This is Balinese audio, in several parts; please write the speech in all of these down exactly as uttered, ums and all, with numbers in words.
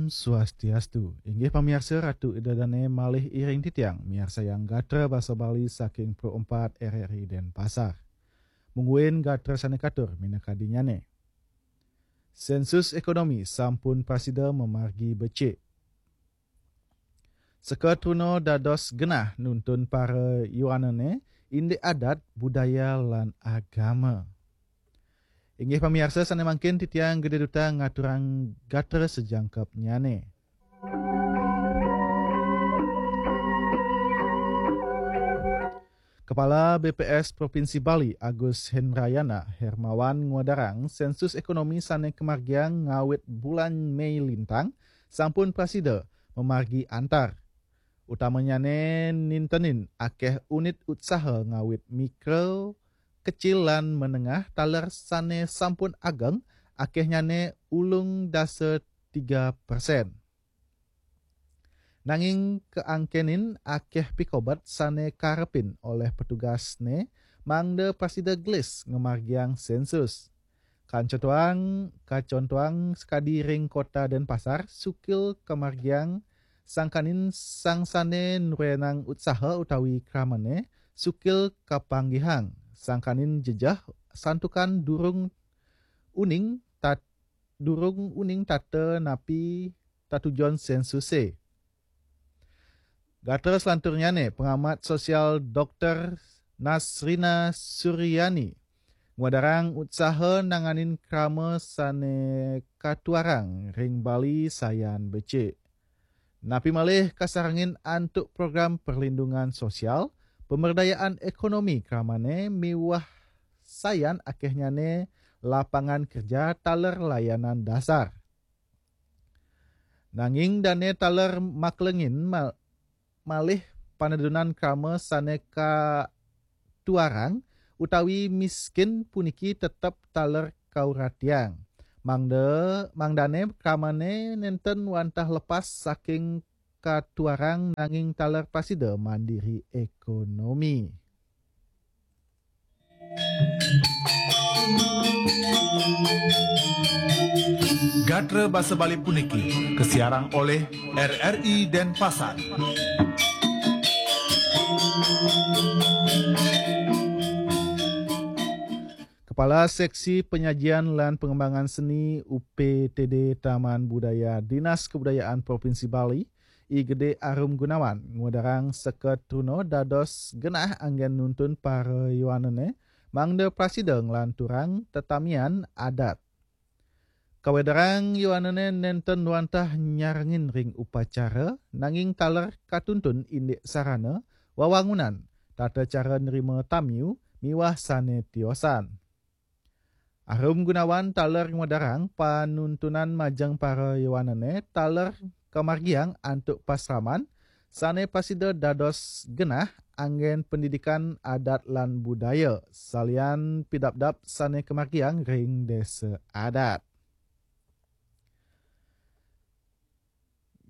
Swastiastu. Inggih pamiarsa, Ratu Ida Dane malih iring titiang miarsayang gatra basa Bali saking Pro empat R R I Denpasar. Mungguing gatra sane katur minakadinyane. Sensus ekonomi sampun prasida mamargi becik. Seka truna dados genah nuntun para yowanane indik adat, budaya, lan agama. Inggih pamiarsa sane mangkin titiang Gede Duta ngaturang gatra sajangkepnyane. Kepala B P S Provinsi Bali Agus Hendrayana Hermawan ngwedarang sensus ekonomi sane kamargiang ngawit bulan Mei lintang sampun prasida mamargi antar. Utamanyane nintenin akeh unit utsaha ngawit mikro, kecil lan menengah taler sane sampun ageng, akehnyane ulung dasa tiga persen. Nanging kaangkenin akeh pikobet sane karepin oleh petugasne mangda prasida gelis ngamargiang sensus. Kancontoang, kacontoang sakadi ring Kota Denpasar, sukil kamargiang sangkanin sang sane nruenang utsaha utawi kramane, sukil kapanggihang sangkanin jejeh santukan durung uning tat-, durung uning tata napi tatujon sensuse. Gatra selanturnyane, pengamat sosial Doktor Nasrina Suryani ngwedarang utsaha nanganin krama sane katuarang ring Bali sayan becik. Napi malih kasarengin antuk program perlindungan sosial, pemberdayaan ekonomi kramane miwah sayan akehnyane lapangan kerja taler layanan dasar. Nanging dane taler maklengin mal-, malih panedunan krama sane katuarang utawi miskin puniki tetep taler kauratiang. Mangda, mangdane kramane nenten wantah lepas saking katuarang nanging taler prasida mandiri ekonomi. Gatra basa Bali puniki kasiarang oleh R R I Denpasar. Kepala Seksi Penyajian lan Pengembangan Seni U P T D Taman Budaya Dinas Kebudayaan Provinsi Bali, I Gede Arum Gunawan, ngwedarang seka truna dados genah anggen nuntun para yowanane mangda prasida nglanturang tetamian adat. Kawedarang yowanane nenten wantah nyarengin ring upacara, nanging taler katuntun indik sarana, wawangunan, tata cara nerima tamiu, miwah sane tiosan. Arum Gunawan taler ngwedarang panuntunan majeng para yowanane taler kamargiang antuk pasraman sane prasida dados genah anggen pendidikan adat lan budaya, salian pidabdab sane kamargiang ring desa adat.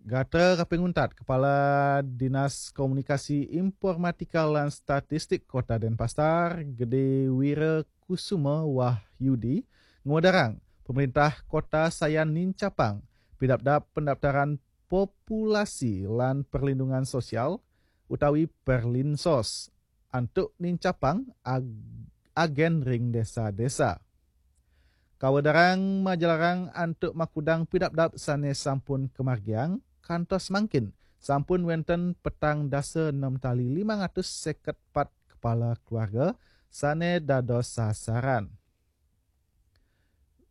Gatra kaping untat, Kepala Dinas Komunikasi, Informatika lan Statistik Kota Denpasar, Gede Wira Kusuma Wahyudi, ngwedarang pemerintah kota sayan nincapang pidabdab pendaftaran populasi lan perlindungan sosial utawi Perlinsos antuk nincapang ag-, agen ring desa-desa. Kawedarang majalarang antuk makudang pidabdab sane sampun kamargiang, kantos mangkin sampun wenten petang dasa enem tali limang atus seket pat kepala keluarga sane dados sasaran.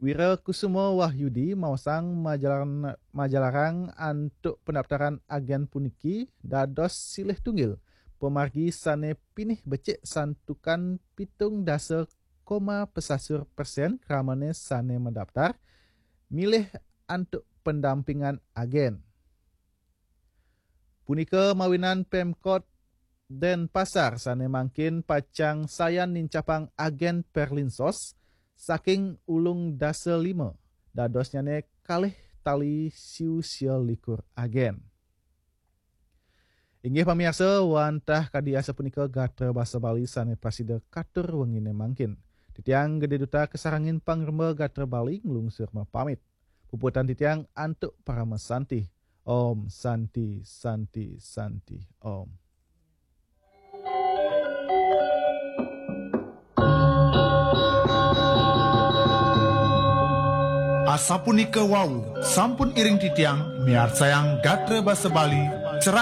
Wira Kusuma Wahyudi maosang majalan-, majalarang antuk pendaftaran agen puniki dados silih tunggil pamargi sane pinih becik santukan pitung dasa koma pesasur persen kramane sane madaftar milih antuk pendampingan agen. Punika mawinan Pemkot Denpasar sane mangkin pacang sayan nincapang agen Perlinsos saking ulung dasa lima, dadosnyane kalih tali siu sia likur agen. Inggih pamiarsa, wantah kadi asapunika gatra basa Bali sane prasida katur wengine mangkin. Titiang Gede Duta kasarengin pangremba gatra Bali nglungsur mapamit. Puputang titiang antuk parama santi. Om Santi, Santi, Santi, Om. Asapunika wau, sampun iring titiang miarsayang gatra basa Bali